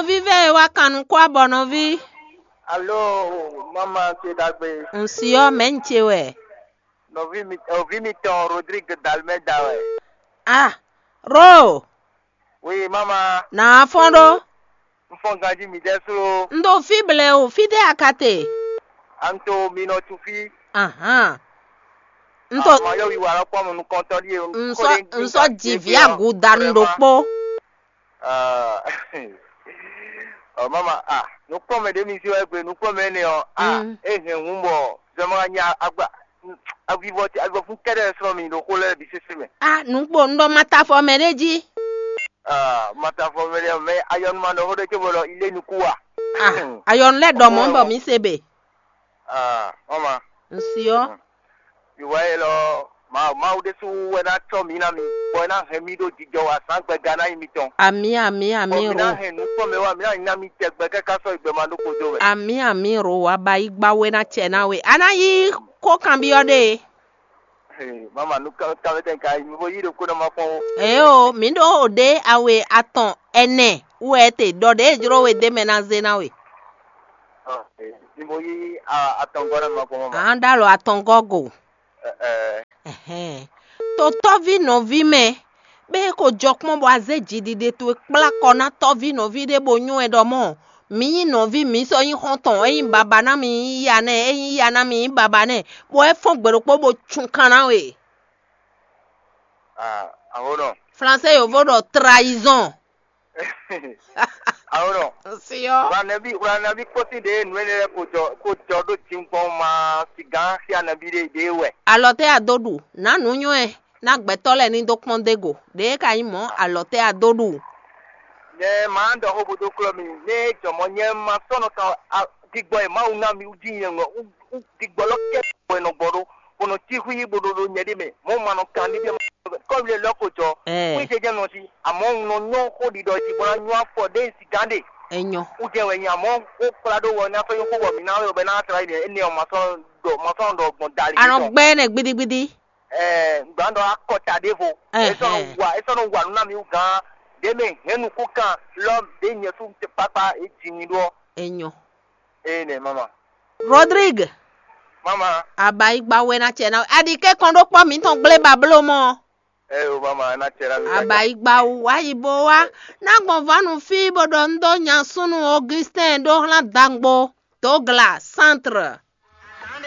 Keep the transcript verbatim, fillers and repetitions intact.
Vívɛ e wá kan nukún abɔ nɔví. Alo, mama ce ɖagbe. Ŋsi ɔ́, mɛ̌ un ce wɛ? Nɔví mi, nɔví mitɔn Rodrigue Dalmeda wɛ. Ah, Ro, Oui, mama. Nǎ fɔ́n ɖó. Un fɔ́n ganjí mi ɖɛ́ sló. Un ɖo fí blɛ́ o, fítɛ́ a ka te? Anto mi nɔ tu fí. Ahan. Un to Ma yɔ wiwa lɔ kpɔ́n nukɔntɔn ɖíe. Un sɔ un sɔ ji vǐ agudanu ɖokpó. Ah, oh, mama, ah, nukpɔmɛ ɖé mi si wɛ gbe nukpɔmɛ énɛ́ ɔ́, ah, Mm. E hɛn hun bɔ zɔmɔ nya agba avivɔ avivɔ fún kɛɖɛ srɔ́ mi ɖo xó lɛ́ɛ bǐ sésé mɛ. Ah, nukpo un ɖɔ ma ta afɔ mɛ ɖé jí. Ah, ma ta afɔ mɛ ɖé mɛ ayɔnu ma ɖɔ xó ɖé cóbɔ ɖɔ ilé nukú wa. Ah, ayɔnu lɛ́ ɖɔ mɔ̌ bɔ mǐ se be. Ah, mama. Un si ɔ́. Ìwà yɛ lɔ, Mawu Mawu ɖésú wɛ ná cɔ́ mǐ ná mi, bɔ é ná hɛn mì ɖó jijɔ wa zǎn gbɛga ná nyí mitɔn. Amǐ, amǐ, amǐ. Bɔ mǐ ná hɛn nukpɔ́n mɛ wá, mǐ ná nyí ná mi tɛgbɛ káká sɔ́ yi gbɛ ma ɖó kodo wɛ. Amǐ, amǐ, ro wa ba yí gbá wé ná cɛ ná we. A ná yí kó kanbyɔ́ ɖe. Mama, nu kanwetɛn ka yi mi bo yí ɖokpó ná ma kpɔ́n ó. Eo, mǐ ɖo ɖě awe atɔn ɛnɛ wɛ te ɖɔ ɖě e jló we d'é mɛ ná zé ná we. Ni mo yí atɔngɔ́ ná ma kpɔ́n mama. An ɖ'alɔ atɔngɔ́ go. Ɛhɛn. To tɔ́ví nɔví mɛ, bɛ́ é ko jɔ kpɔ́n bɔ a zé jiɖiɖe towe kplá kɔ ná tɔ́ví nɔví ɖé bó nywɛ́ ɖɔ mɔ̌, mǐ nyí nɔví, mǐ sɔ́ nyí xɔ́ntɔn, é nyí baba ná mì nyí ya nɛ́, é nyí ya ná mì nyí baba nɛ́, bɔ é fɔ́n gbe ɖokpó bó cun kan ná we. Ah, aho nɔ. Flansé yovo ɖɔ trahison. Aho nɔ. Siɔ. Wlanɛbi wlanɛbi kpɔ́sí ɖe nǔ énɛ́ lɛ́ɛ ko jɔ ko jɔ ɖó jǐngbɔn ma sigǎn xia nɛbi ɖe ɖe wɛ. Alɔ tɛ a dó ɖu, ná nǔ nywɛ́, ná gbɛtɔ́ lɛ́ɛ ní dó kpɔ́n dó go. Ɖě ka nyí mɔ̌ alɔ tɛ a dó ɖu. Nyɛ maa ɖɔ xó bo dó klɔ́ mi, nɛ jɔmɔ nyɛ ma sɔ́ nɔ kan digbɔ e Mawu ná mi wú jí nyɛ ŋɔ wú digbɔ lɔ kɛ bɔ e nɔ gbɔ ɖó, bó nɔ cí xwí bó ɖó ɖó nyɛ ɖé mɛ, mɔ̌ ma nɔ kan níbí kɔ́mile lɔ ko jɔ. Ɛɛ. Xwí jɛjɛ nɔ sí, àmọ́ un nɔ nyɔ́ xó ɖiɖɔ jí bó ná nyɔ́ afɔ ɖé si gán ɖe. Enyɔ. Wú jɛ wɛ nyɛ, àmọ́ ó kplá ɖó wɔ ní afɔ nyɔ́ xó bɔ mǐ ná wɛ bɔ é ná tlá yi ɖe énɛ́ ɔ́ ma sɔ́ ɖɔ ma sɔ́ ɖɔ gbɔn dali. Anɔ gbɛ nɛ gbidigbidi. Ɛɛ, gbǎn ɖɔ akɔta ɖěvo. Ɛhɛn. É sɔ́ nɔ wa é sɔ́ nɔ wa nǔ ná mi wú gán ɖě mɛ hɛn nukún kan lɔ ɖě nyɛ sú kpákpá é ji mi ɖó. Enyɔ. Ee nɛ mama. Rodrigue. Mama. Abayigba wɛ na cɛ na aɖi kɛ kɔn ɖó kpɔ mǐtɔn gblé babló mɔ. Ɛ o mama na cɛ na mi. Abayigba wú wá yi bó wá ná gbɔn vanu fí bó ɖɔ un dó nya súnnu Augustin ɖó hlán dangbo Douglas Centre.